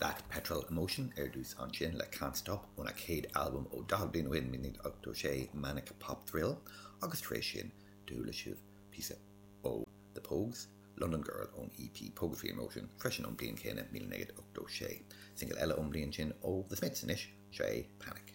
That Petrol Emotion ar dtús ansin le Can't Stop óna chéad albam ó 40 bliain ó shin, 1986, Manic Pop Thrill, agus tar éis sin chuala sibh píosa ó The Pogues, London Girl ón EP Poguetry in Motion, freisin ón bliain chéanna, 1986. Singil eile ón mbliain sin ó The Smiths anois, seo é Panic.